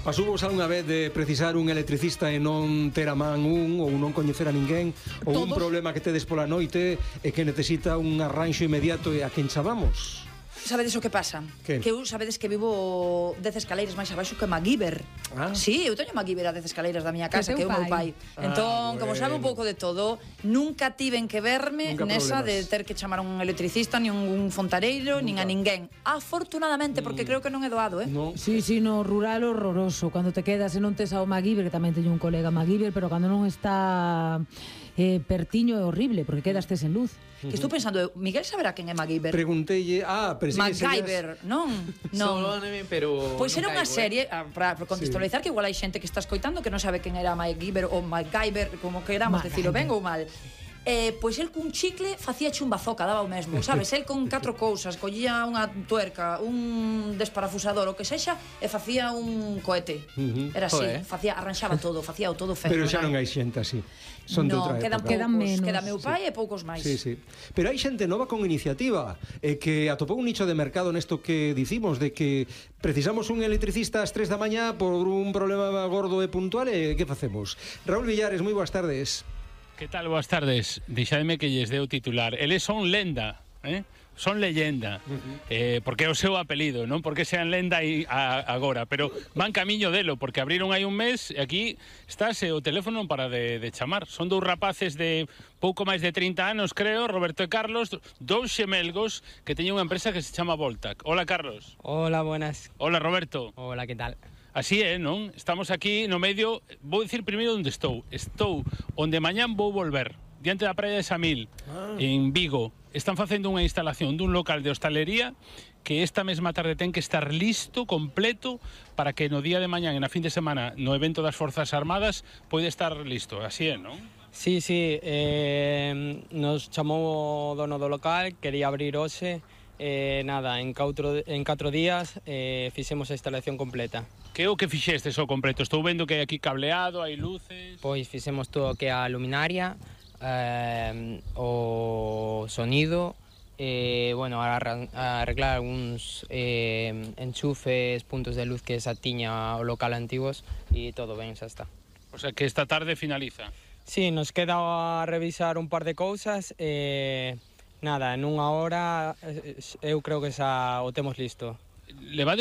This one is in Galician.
Pasou vos algunha vez de precisar un electricista e non ter a man ou non coñecer a ninguén, ou un problema que tedes pola noite e que necesita un arranxo inmediato e a quen chamamos? Sabedes o que pasa? Que? Que eu sabedes que vivo 10 escaleiras máis abaixo que MacGyver. Sí, eu teño MacGyver a 10 escaleiras da miña casa, que é o meu pai. Entón, como sabe un pouco de todo, nunca tiven que verme nesa de ter que chamar a un electricista, nin un fontareiro, nin a ninguén. Afortunadamente, porque creo que non é doado, Sí, no rural horroroso. Cando te quedas e non tes ao MacGyver, que tamén teño un colega MacGyver, pero cando non está pertiño é horrible, porque quedaste sen luz. Que estou pensando, Miguel saberá quen é MacGyver. Preguntelle, MacGyver, non? pero pois era unha serie, para contextualizar, que igual hai xente que está escoitando que non sabe quen era MacGyver ou MacGyver, como queramos decirlo ben ou mal. Pois el cun chicle facía chumbazoca, daba o mesmo, sabes? El con 4 cousas, collía unha tuerca, un desparafusador, o que sexa, e facía un cohete. Era así, arranxaba todo, facía todo fenomenal. Pero xa non hai xente así. Son de outra época. Quedan menos. Queda meu pai e poucos máis. Sí. Pero hai xente nova con iniciativa que atopou un nicho de mercado nesto que dicimos, de que precisamos un electricista ás 3 da mañá por un problema gordo e puntual, e que facemos? Raúl Villares, moi boas tardes. Que tal? Boas tardes. Deixadme que lles deu titular. Eles son lenda, son leyenda, porque é o seu apelido, non porque sean lenda agora, pero van camiño delo, porque abriron hai un mes e aquí estáse o teléfono para de chamar. Son dous rapaces de pouco máis de 30 anos, creo, Roberto e Carlos, dous xemelgos que teñen unha empresa que se chama Voltac. Hola, Carlos. Hola, buenas. Hola, Roberto. Hola, que tal? Así é, non? Estamos aquí no medio. Vou dicir primeiro onde estou. Estou onde mañán vou volver, diante da praia de Samil, en Vigo. Están facendo unha instalación dun local de hostalería que esta mesma tarde ten que estar listo, completo, para que no día de mañán, na fin de semana, no evento das Forzas Armadas, pode estar listo. Así é, non? Sí, nos chamou o dono do local, quería abrir hoxe, nada, en 4 días fixemos a instalación completa. Que é o que fixestes ao completo? Estou vendo que hai aquí cableado, hai luces... Pois fixemos todo o que a luminaria, o sonido, arreglar algúns enchufes, puntos de luz que xa tiña o local antigos, e todo ben, xa está. O sea que esta tarde finaliza. Sí, nos queda a revisar un par de cousas e... Nada, en unha hora eu creo que xa o temos listo. Levades